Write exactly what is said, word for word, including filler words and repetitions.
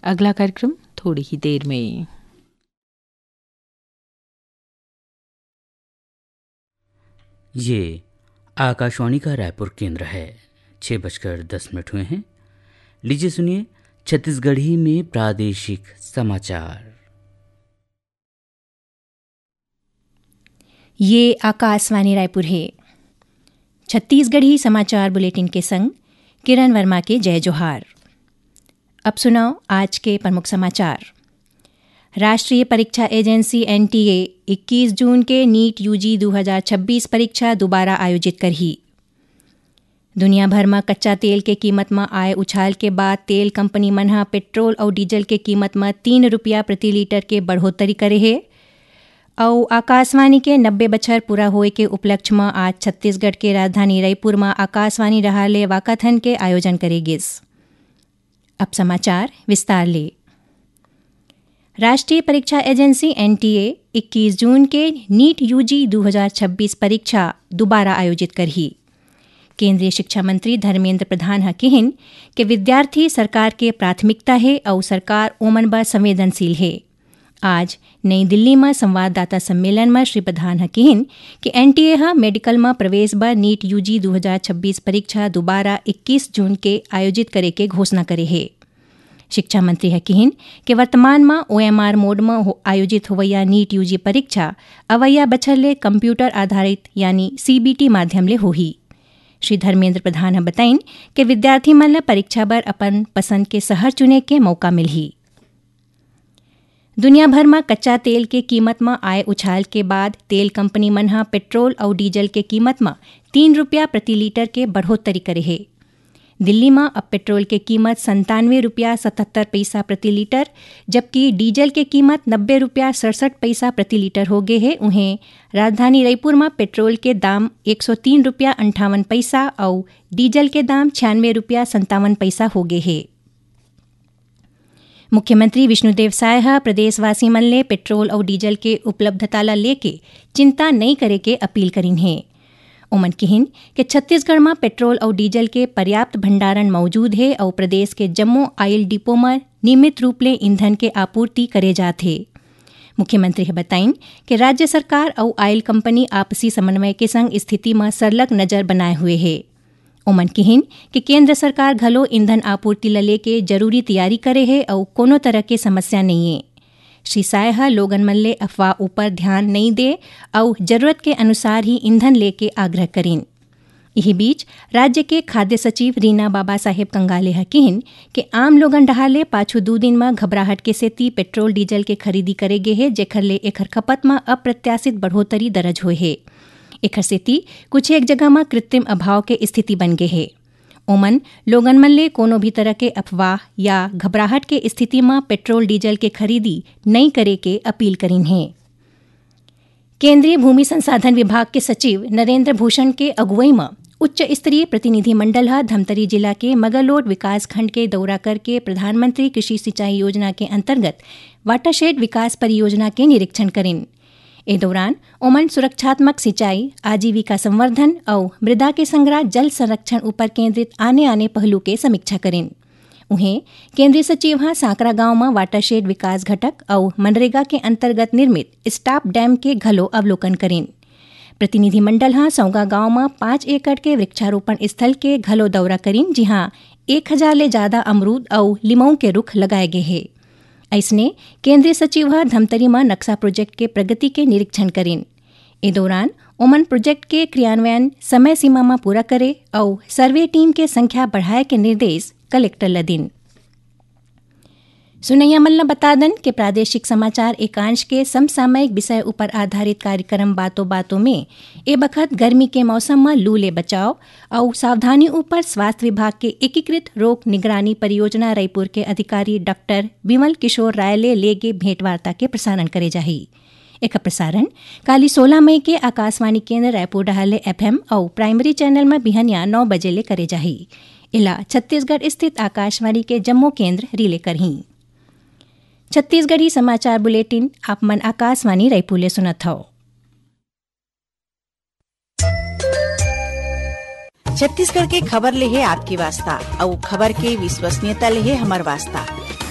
अगला कार्यक्रम थोड़ी ही देर में। ये आकाशवाणी का रायपुर केंद्र है। छह बजकर दस मिनट हुए हैं। लीजिए सुनिए छत्तीसगढ़ी में प्रादेशिक समाचार। ये आकाशवाणी रायपुर है। छत्तीसगढ़ी समाचार बुलेटिन के संग किरण वर्मा के जय जोहार। अब सुनव आज के प्रमुख समाचार। राष्ट्रीय परीक्षा एजेंसी एनटीए इक्कीस जून के नीट यूजी दो हज़ार छब्बीस परीक्षा दोबारा आयोजित करही। दुनिया भर म कच्चा तेल के कीमत म आए उछाल के बाद तेल कंपनी मन ह पेट्रोल अउ डीजल के कीमत म तीन रुपया प्रति लीटर के बढ़ोतरी करे हे। अउ आकाशवाणी के नब्बे बछर पूरा होए के उपलक्ष्य म आज छत्तीसगढ़ के राजधानी रईपुर म आकाशवाणी डहार ले वाकाथन के आयोजन करे गिस। अब समाचार विस्तार ले। राष्ट्रीय परीक्षा एजेंसी एनटीए इक्कीस जून के नीट यूजी दो हज़ार छब्बीस परीक्षा दोबारा आयोजित करही। केंद्रीय शिक्षा मंत्री धर्मेंद्र प्रधान ह किहिन के विद्यार्थी सरकार के प्राथमिकता हे अउ सरकार ओमन बर संवेदनशील हे। आज नई दिल्ली म संवाददाता सम्मेलन म श्री प्रधान ह किहिन कि एनटीए ह मेडिकल म प्रवेश बर नीट यूजी दो हज़ार छब्बीस परीक्षा दोबारा इक्कीस जून के आयोजित करे के घोषणा करे हे। शिक्षा मंत्री ह किहिन कि वर्तमान म ओएमआर मोड म हो-, आयोजित होवइया नीट यूजी परीक्षा अवइया बछर ले कंप्यूटर आधारित यानी सीबीटी माध्यम ले होही। श्री धर्मेंद्र प्रधान ह बताइन कि विद्यार्थी मन ल परीक्षा बर अपन पसंद के शहर चुने के मौका मिलही। दुनिया भर म कच्चा तेल के कीमत म आए उछाल के बाद तेल कंपनी मन ह पेट्रोल अउ डीजल के कीमत म तीन रुपया प्रति लीटर के बढ़ोत्तरी करे हे। दिल्ली म अब पेट्रोल के कीमत संतानवे रुपया सतहत्तर पैसा प्रति लीटर, जबकि डीजल के कीमत नब्बे रुपया सड़सठ पैसा प्रति लीटर हो गे हे। उहें, राजधानी रईपुर म पेट्रोल के दाम एक सौ तीन रुपया अंठावन पैसा अउ डीजल के दाम छियानवे रुपया संतावन पैसा हो गे हे। मुख्यमंत्री विष्णुदेव साय ह प्रदेशवासी मन ले पेट्रोल अउ डीजल के उपलब्धता ल लेके चिंता नइ करे के अपील करिन हे। ओमन किहिन कि छत्तीसगढ़ म पेट्रोल अउ डीजल के पर्याप्त भंडारण मौजूद हे अउ प्रदेश के जम्मो ऑयल डिपो म नियमित रूप ले ईंधन के आपूर्ति करे जात हे। मुख्यमंत्री ह बताइन कि राज्य सरकार अउ ऑयल कंपनी आपसी समन्वय के संग स्थिति म सरलग नजर बनाए हुए हे। ओमन किहिन कि केंद्र सरकार घलो ईंधन आपूर्ति ल लेके जरूरी तैयारी करे हे अउ कोनो तरह के समस्या नइये। श्री साय ह लोगन मन ले अफवाह ऊपर ध्यान नइ दे अउ जरूरत के अनुसार ही ईंधन लेके आग्रह करिन। इही बीच, राज्य के खाद्य सचिव रीना बाबा साहेब कंगाले ह किहिन कि आम लोगन डहार ले पाछू दू दिन म घबराहट के सेती पेट्रोल डीजल के खरीदी करे गे हे, जेखर ले एखर खपत म अप्रत्याशित बढ़ोतरी दरज होए हे। एखर सेती कुछ एक जगह म कृत्रिम अभाव के स्थिति बन गे हे। ओमन लोगन मन ले कोनो भी तरह के अफवाह या घबराहट के स्थिति म पेट्रोल डीजल के खरीदी नइ करे के अपील करिन हे। केंद्रीय भूमि संसाधन विभाग के सचिव नरेंद्र भूषण के अगुवई म उच्च स्तरीय प्रतिनिधिमंडल ह धमतरी जिला के मगरलोड विकासखंड के दौरा करके प्रधानमंत्री कृषि सिंचाई योजना के अंतर्गत वाटरशेड विकास परियोजना के निरीक्षण करिन। ए दौरान ओमन सुरक्षात्मक सिंचाई, आजीविका संवर्धन अउ मृदा के संघरा जल संरक्षण ऊपर केंद्रित आने-आने पहलू के समीक्षा करिन। उहें, केंद्रीय सचिव ह सांकरा गांव म वाटरशेड विकास घटक अउ मनरेगा के अंतर्गत निर्मित स्टॉप डैम के घलो अवलोकन करिन। प्रतिनिधिमंडल ह सौगा गांव म पाँच एकड़ के वृक्षारोपण स्थल के घलो दौरा करिन, जिहां एक हजार ले जादा अमरूद अउ लिमऊ के रुख लगाए गे हे। अइसने, केंद्रीय सचिव ह धमतरी म नक्शा प्रोजेक्ट के प्रगति के निरीक्षण करिन। ए दौरान ओमन प्रोजेक्ट के क्रियान्वयन समय सीमा म पूरा करे अउ सर्वे टीम के संख्या बढ़ाए के निर्देश कलेक्टर ल दिन। सुनैया मन ल बता दन के प्रादेशिक समाचार एकांश के समसामयिक विषय ऊपर आधारित कार्यक्रम बातों बातों में ए बखत गर्मी के मौसम म लू ले बचाव अउ सावधानी ऊपर स्वास्थ्य विभाग के एकीकृत रोग निगरानी परियोजना रायपुर के अधिकारी डॉक्टर विमल किशोर राय ले लेगे भेंटवार्ता के प्रसारण करे जाही। एकर प्रसारण काली सोलह मई के आकाशवाणी केंद्र रायपुर डहार ले एफएम अउ प्राइमरी चैनल म बिहनिया नौ बजे ले करे जाही। एला छत्तीसगढ़ स्थित आकाशवाणी के जम्मो केंद्र रिले करही। छत्तीसगढ़ी समाचार बुलेटिन आप मन आकाशवाणी रायपुर ले सुनत हव। छत्तीसगढ़ के खबर ले हे आपके वास्ता, अउ खबर के विश्वसनीयता ले हे हमर वास्ता।